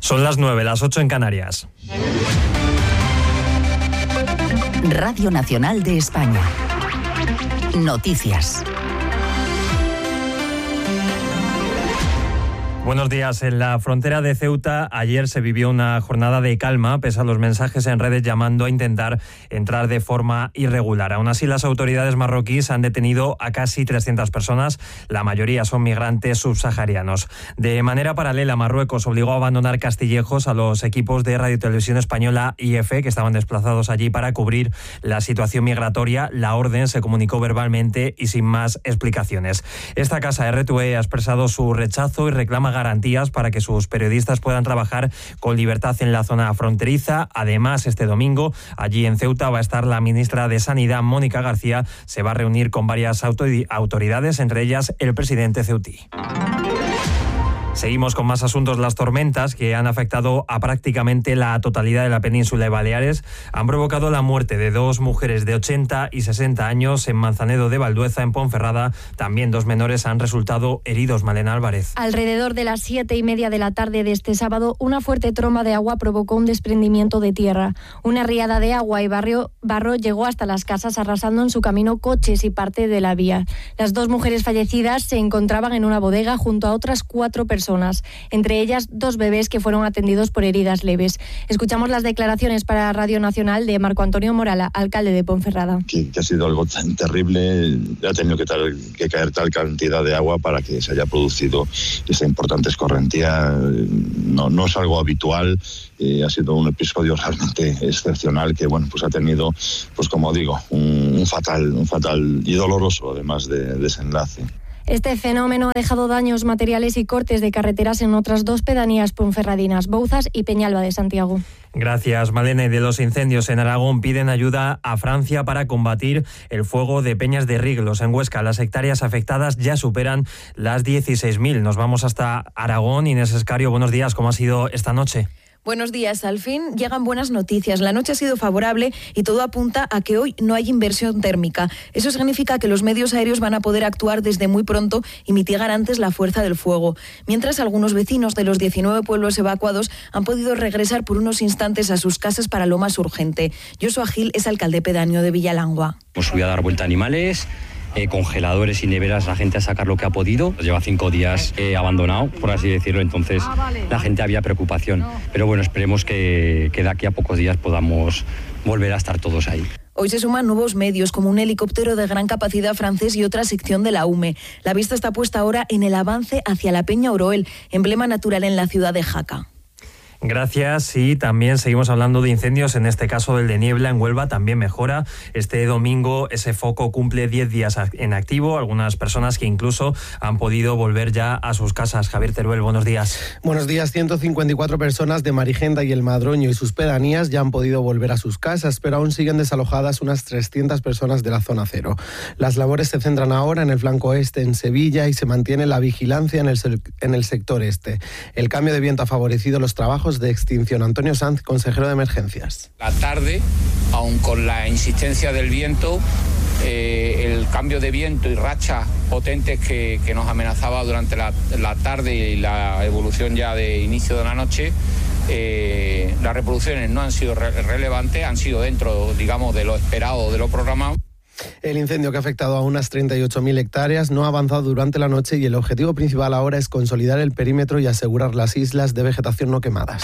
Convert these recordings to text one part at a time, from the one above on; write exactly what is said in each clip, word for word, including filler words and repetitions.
Son las nueve, las ocho en Canarias. Radio Nacional de España. Noticias. Buenos días. En la frontera de Ceuta ayer se vivió una jornada de calma, pese a los mensajes en redes llamando a intentar entrar de forma irregular. Aún así, las autoridades marroquíes han detenido a casi trescientas personas, la mayoría son migrantes subsaharianos. De manera paralela, Marruecos obligó a abandonar Castillejos a los equipos de Radio Televisión Española I F, que estaban desplazados allí para cubrir la situación migratoria. La orden se comunicó verbalmente y sin más explicaciones. Esta casa R T V E ha expresado su rechazo y reclama garantías para que sus periodistas puedan trabajar con libertad en la zona fronteriza. Además, este domingo, allí en Ceuta, va a estar la ministra de Sanidad, Mónica García. Se va a reunir con varias autoridades, entre ellas el presidente ceutí. Seguimos con más asuntos. Las tormentas que han afectado a prácticamente la totalidad de la península de Baleares han provocado la muerte de dos mujeres de ochenta y sesenta años en Manzanedo de Valdueza, en Ponferrada. También dos menores han resultado heridos. Malena Álvarez. Alrededor de las siete y media de la tarde de este sábado, una fuerte tromba de agua provocó un desprendimiento de tierra. Una riada de agua y barrio, barro llegó hasta las casas, arrasando en su camino coches y parte de la vía. Las dos mujeres fallecidas se encontraban en una bodega junto a otras cuatro personas. Entre ellas dos bebés que fueron atendidos por heridas leves. Escuchamos las declaraciones para Radio Nacional de Marco Antonio Morala, alcalde de Ponferrada. Que, que ha sido algo tan terrible, ha tenido que, tal, que caer tal cantidad de agua para que se haya producido esta importante escorrentía. No, no es algo habitual, eh, ha sido un episodio realmente excepcional que, bueno, pues ha tenido, pues como digo, un, un fatal, un fatal y doloroso, además de desenlace. Este fenómeno ha dejado daños materiales y cortes de carreteras en otras dos pedanías ponferradinas, Bouzas y Peñalba de Santiago. Gracias, Malena. De los incendios en Aragón piden ayuda a Francia para combatir el fuego de Peñas de Riglos. En Huesca, las hectáreas afectadas ya superan las dieciséis mil. Nos vamos hasta Aragón. Inés Escario, buenos días. ¿Cómo ha sido esta noche? Buenos días. Al fin llegan buenas noticias. La noche ha sido favorable y todo apunta a que hoy no hay inversión térmica. Eso significa que los medios aéreos van a poder actuar desde muy pronto y mitigar antes la fuerza del fuego. Mientras, algunos vecinos de los diecinueve pueblos evacuados han podido regresar por unos instantes a sus casas para lo más urgente. Joshua Gil es alcalde pedáneo de Villalangua. Hemos subido a dar vuelta a animales. Eh, congeladores y neveras, la gente a sacar lo que ha podido. Lleva cinco días eh, abandonado, por así decirlo, entonces ah, vale. La gente había preocupación. No. Pero bueno, esperemos que, que de aquí a pocos días podamos volver a estar todos ahí. Hoy se suman nuevos medios, como un helicóptero de gran capacidad francés y otra sección de la U M E. La vista está puesta ahora en el avance hacia la Peña Oroel, emblema natural en la ciudad de Jaca. Gracias. Y también seguimos hablando de incendios, en este caso el de Niebla en Huelva también mejora. Este domingo ese foco cumple diez días en activo, algunas personas que incluso han podido volver ya a sus casas. Javier Teruel, buenos días. Buenos días. ciento cincuenta y cuatro personas de Marigenda y el Madroño y sus pedanías ya han podido volver a sus casas, pero aún siguen desalojadas unas trescientas personas de la zona cero. Las labores se centran ahora en el flanco este, en Sevilla, y se mantiene la vigilancia en el, en el sector este. El cambio de viento ha favorecido los trabajos de extinción. Antonio Sanz, consejero de Emergencias. La tarde, aun con la insistencia del viento, eh, el cambio de viento y rachas potentes que, que nos amenazaba durante la, la tarde y la evolución ya de inicio de la noche, eh, las reproducciones no han sido re- relevantes, han sido dentro, digamos, de lo esperado, de lo programado. El incendio, que ha afectado a unas treinta y ocho mil hectáreas, no ha avanzado durante la noche y el objetivo principal ahora es consolidar el perímetro y asegurar las islas de vegetación no quemadas.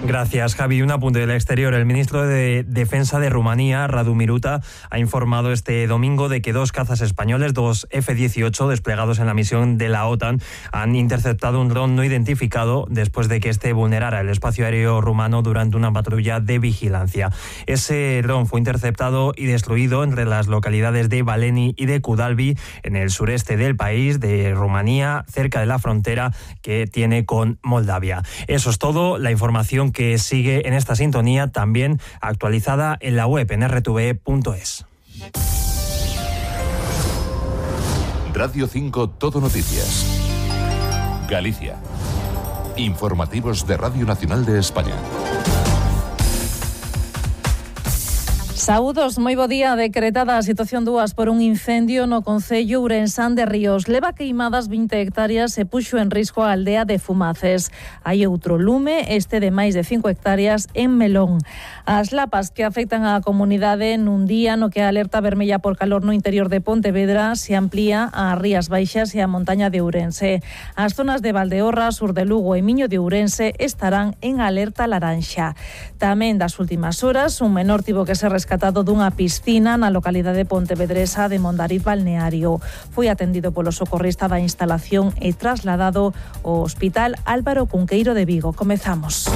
Gracias, Javi. Un apunte del exterior. El ministro de Defensa de Rumanía, Radu Miruta, ha informado este domingo de que dos cazas españoles, dos F dieciocho, desplegados en la misión de la OTAN, han interceptado un dron no identificado después de que este vulnerara el espacio aéreo rumano durante una patrulla de vigilancia. Ese dron fue interceptado y destruido entre las localidades de Baleni y de Kudalbi, en el sureste del país, de Rumanía, cerca de la frontera que tiene con Moldavia. Eso es todo. La información que sigue en esta sintonía, también actualizada en la web en erre te ve punto es. Radio cinco Todo Noticias. Galicia. Informativos de Radio Nacional de España. Saúdos, moi bo día. Decretada a situación dúas por un incendio no concello ourensán de Ríos. Leva queimadas vinte hectáreas e puxo en risco a aldea de Fumaces. Hai outro lume, este de máis de cinco hectáreas en Melón. As lapas que afectan á comunidade nun día no que a alerta vermella por calor no interior de Pontevedra se amplía a Rías Baixas e a montaña de Ourense. As zonas de Valdeorra, sur de Lugo e Miño de Ourense estarán en alerta laranxa. Tamén das últimas horas, un menor tivo que ser rescatado dunha piscina na localidade pontevedresa de Mondariz Balneario. Foi atendido polo socorrista da instalación e trasladado ao Hospital Álvaro Cunqueiro de Vigo. Comezamos.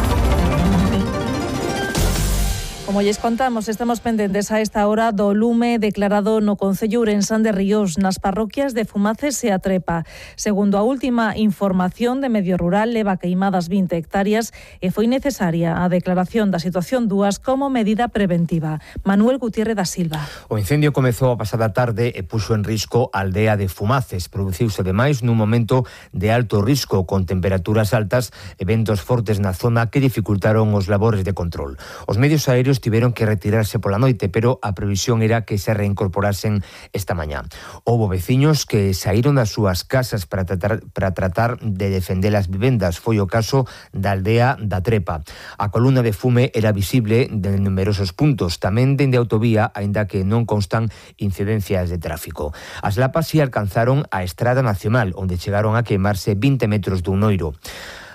Como lles contamos, estamos pendentes a esta hora do lume declarado no concello ourensán de Ríos, nas parroquias de Fumaces e A Trepa. Segundo a última información de Medio Rural, leva queimadas vinte hectáreas e foi necesaria a declaración da situación dúas como medida preventiva. Manuel Gutiérrez da Silva. O incendio comezou a pasada tarde e puxo en risco a aldea de Fumaces. Produciuse ademais nun momento de alto risco, con temperaturas altas e ventos fortes na zona que dificultaron os labores de control. Os medios aéreos tiveron que retirarse pola noite, pero a previsión era que se reincorporasen esta mañá. Houbo veciños que saíron das súas casas para tratar, para tratar de defender as vivendas. Foi o caso da aldea da Trepa. A columna de fume era visible de numerosos puntos, tamén dende a autovía, aínda que non constan incidencias de tráfico. As lapas si alcanzaron a Estrada Nacional, onde chegaron a queimarse vinte metros dun noiro.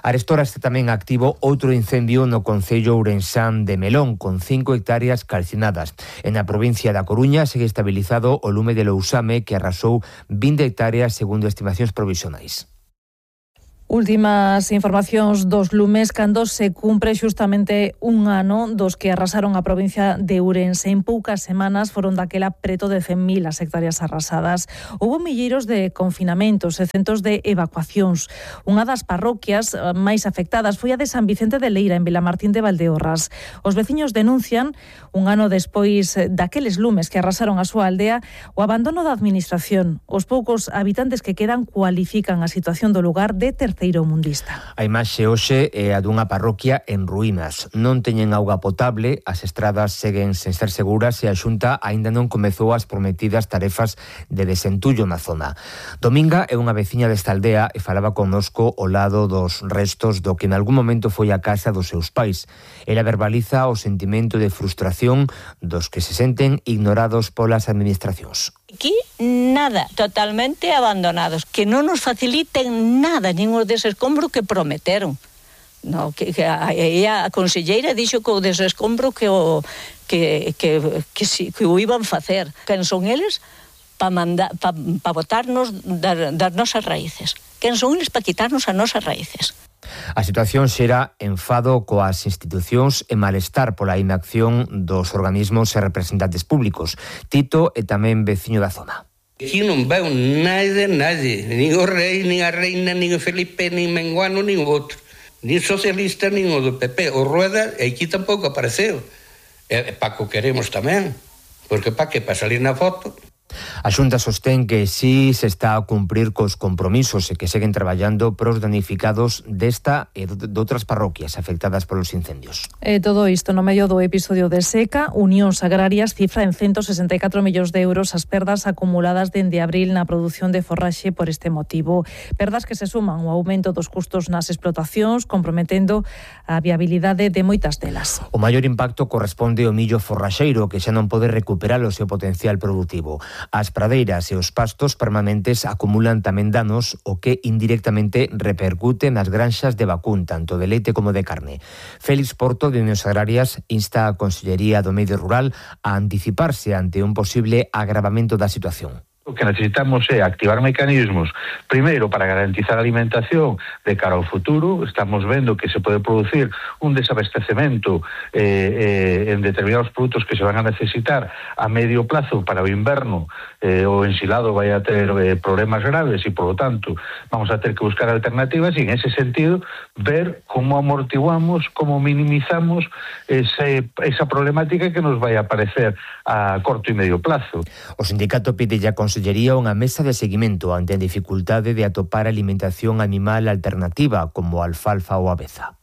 Arestora está tamén activo outro incendio no concello ourensán de Melón, con cinco hectáreas calcinadas. En a provincia da Coruña segue estabilizado o lume de Lousame, que arrasou vinte hectáreas segundo estimacións provisionais. Últimas informacións dos lumes cando se cumpre xustamente un ano dos que arrasaron a provincia de Ourense. En poucas semanas foron daquela preto de cen mil as hectáreas arrasadas. Houbo milleiros de confinamentos e centos de evacuacións. Unha das parroquias máis afectadas foi a de San Vicente de Leira, en Vilamartín de Valdeorras. Os veciños denuncian, un ano despois daqueles lumes que arrasaron a súa aldea, o abandono da administración. Os poucos habitantes que quedan cualifican a situación do lugar de terceiro mundista. A imaxe hoxe é a dunha parroquia en ruínas. Non teñen auga potable, as estradas seguen sen ser seguras e a Xunta aínda non comezou as prometidas tarefas de desentullo na zona. Dominga é unha veciña desta aldea e falaba connosco ao lado dos restos do que en algún momento foi a casa dos seus pais. Ela verbaliza o sentimento de frustración dos que se senten ignorados polas administracións. Aquí nada, totalmente abandonados, que non nos faciliten nada, ningún desescombro que prometeron. No, que, que a, a conselleira dixo que o desescombro que o que que que, que, que o iban facer. Quen son eles para mandar para pa botarnos das, das nosas raíces. Quen son eles para quitarnos as nosas raíces. A situación xera enfado coas institucións e malestar pola inacción dos organismos e representantes públicos. Tito é tamén veciño da zona. Aquí non veo nada, nadie, nin o rei, nin a reina, nin o Felipe, nin Menguano, nin o outro, nin socialista, nin o do P P. O Rueda aquí tampouco apareceu. E Paco queremos tamén, porque pa que, pa salir na foto. A Xunta sostén que si se está a cumprir cos compromisos e que seguen traballando pros danificados desta e de outras parroquias afectadas polos incendios. E todo isto no medio do episodio de seca, Unións Agrarias cifra en ciento sesenta e catro millóns de euros as perdas acumuladas dende abril na produción de forraxe por este motivo. Perdas que se suman ao aumento dos custos nas explotacións, comprometendo a viabilidade de moitas delas. O maior impacto corresponde ao millo forraxeiro, que xa non pode recuperar o seu potencial productivo. As pradeiras e os pastos permanentes acumulan tamén danos, o que indirectamente repercute nas granxas de vacún, tanto de leite como de carne. Félix Porto, de Unións Agrarias, insta a Consellería do Medio Rural a anticiparse ante un posible agravamento da situación. O que necesitamos é activar mecanismos, primeiro, para garantizar a alimentación de cara ao futuro. Estamos vendo que se pode producir un desabastecemento eh, eh, en determinados produtos que se van a necesitar a medio plazo para o inverno. Eh, o ensilado vai a ter eh, problemas graves e, por lo tanto, vamos a ter que buscar alternativas e, en ese sentido, ver como amortiguamos, como minimizamos ese, esa problemática que nos vai a aparecer a corto e medio plazo. O sindicato pide ya con Consellería unha mesa de seguimento ante a dificultade de atopar alimentación animal alternativa como a alfalfa ou aveza.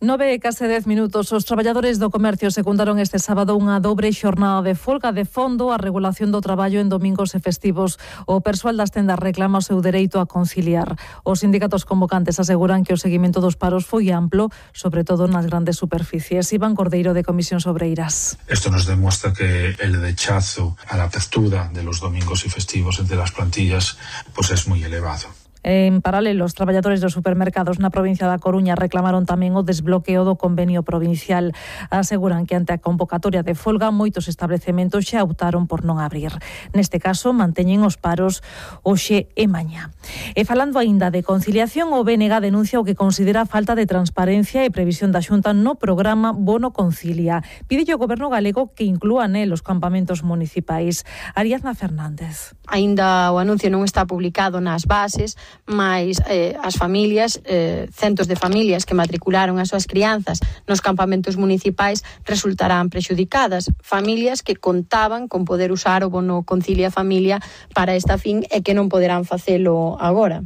Nove e case dez minutos. Os traballadores do comercio secundaron este sábado unha dobre xornada de folga de fondo a regulación do traballo en domingos e festivos. O persoal das tendas reclama o seu dereito a conciliar. Os sindicatos convocantes aseguran que o seguimento dos paros foi amplo, sobre todo nas grandes superficies. Iván Cordeiro, de Comisiones Obreiras. Esto nos demuestra que el rechazo a la apertura de los domingos y festivos entre las plantillas pues es muy elevado. En paralelo, os traballadores dos supermercados na provincia da Coruña reclamaron tamén o desbloqueo do convenio provincial. Aseguran que ante a convocatoria de folga moitos establecementos xa optaron por non abrir. Neste caso, manteñen os paros hoxe e mañá. E falando aínda de conciliación, o B N G denuncia o que considera falta de transparencia e previsión da Xunta no programa Bono Concilia. Pide ao Goberno galego que inclúa nel os campamentos municipais. Ariadna Fernández. Aínda o anuncio non está publicado nas bases, mais eh, as familias, eh, centos de familias que matricularon as súas crianzas nos campamentos municipais resultarán prexudicadas. Familias que contaban con poder usar o bono Concilia Familia para esta fin e que non poderán facelo agora.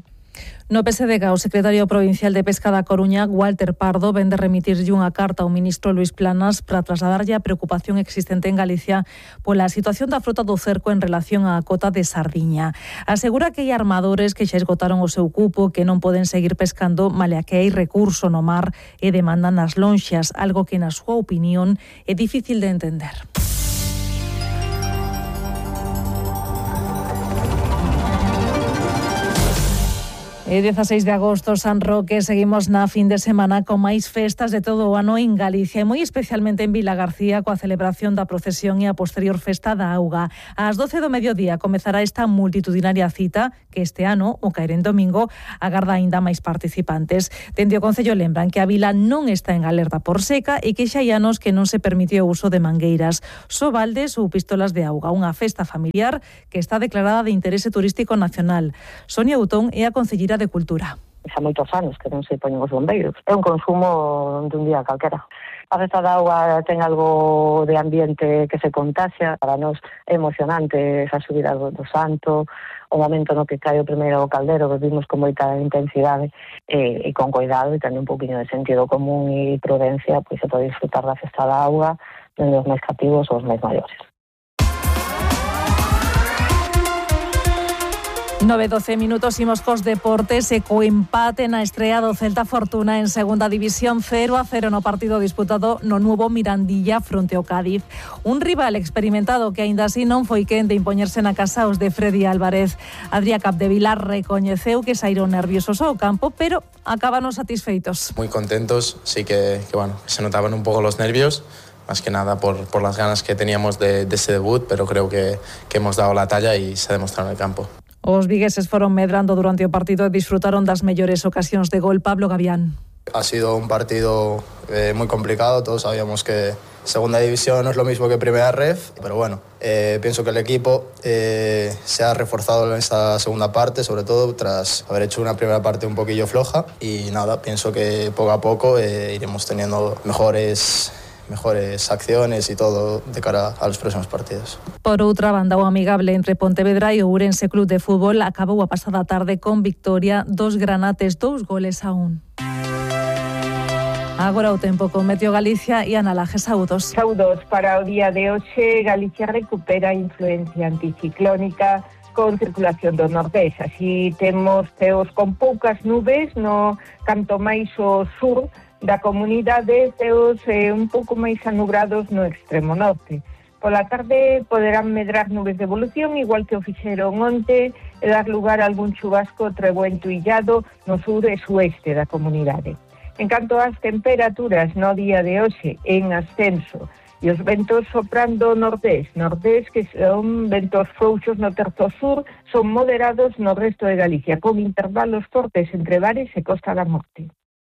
No P S D G, o secretario provincial de Pesca da Coruña, Walter Pardo, vende remitirlle unha carta ao ministro Luís Planas para trasladarlle a preocupación existente en Galicia pola situación da frota do cerco en relación á cota de sardiña. Asegura que hai armadores que xa esgotaron o seu cupo, que non poden seguir pescando, malia que hai recurso no mar e demandan as lonxas, algo que, na súa opinión, é difícil de entender. E dieciséis de agosto, San Roque, seguimos na fin de semana con máis festas de todo o ano en Galicia e moi especialmente en Vilagarcía coa celebración da procesión e a posterior festa da auga. Ás doce do mediodía comezará esta multitudinaria cita que este ano, o caer en domingo, agarda aínda máis participantes. Dende o Concello lembran que a vila non está en alerta por seca e que xa hai anos que non se permite o uso de mangueiras, só baldes ou pistolas de auga, unha festa familiar que está declarada de interese turístico nacional. Sonia Utón é a concelleira de Cultura. Xa moitos anos que non se poñen os bombeiros. É un consumo de un día calquera. A festa da auga ten algo de ambiente que se contaxia. Para nós é emocionante esa subida do, do santo, o momento no que cae o primeiro caldero, que vimos con moita intensidade e, e con cuidado e tamén un poquinho de sentido común e prudencia, pois se pode disfrutar da festa da auga dende os máis cativos ou os máis maiores. nove e doce minutos, imos cos deportes e co empate na estrea do Celta Fortuna en segunda división, cero a cero no partido disputado no novo Mirandilla fronte ao Cádiz. Un rival experimentado que aínda así non foi quen de impoñerse na casa os de Freddy Álvarez. Adrià Capdevila recoñeceu que saíron nerviosos ao campo, pero acabaron satisfeitos. Muy contentos, sí que, que bueno, se notaban un pouco los nervios, más que nada por, por las ganas que teníamos de, de ese debut, pero creo que, que hemos dado la talla y se ha demostrado en el campo. Os vigueses foron medrando durante o partido e disfrutaron das mellores ocasións de gol. Pablo Gavián. Ha sido un partido eh, muy complicado, todos sabíamos que segunda división no es lo mismo que primera ref, pero bueno, eh, pienso que el equipo eh, se ha reforzado en esta segunda parte, sobre todo tras haber hecho una primera parte un poquillo floja, y nada, pienso que poco a poco eh, iremos teniendo mejores mejores acciones y todo de cara a los próximos partidos. Por outra banda, o amigable entre Pontevedra e o Ourense Club de Fútbol acabou a pasada tarde con victoria dos granates, dous goles a un. Agora o tempo con Meteo Galicia e Ana Laje. Saúdos. Saúdos. Para o día de hoxe, Galicia recupera a influencia anticiclónica con circulación do nordés. Así temos ceos con poucas nubes, no canto máis o sur da comunidade, ceos eh, un pouco máis anubrados no extremo norte. Pola tarde poderán medrar nubes de evolución, igual que o fixeron onte, e dar lugar a algún chubasco trebuento illado no sur e sueste da comunidade. En canto ás temperaturas no día de hoxe, en ascenso, e os ventos soprando nordés, nordés que son ventos frouxos no terzo sur, son moderados no resto de Galicia, con intervalos fortes entre bares e Costa da Morte.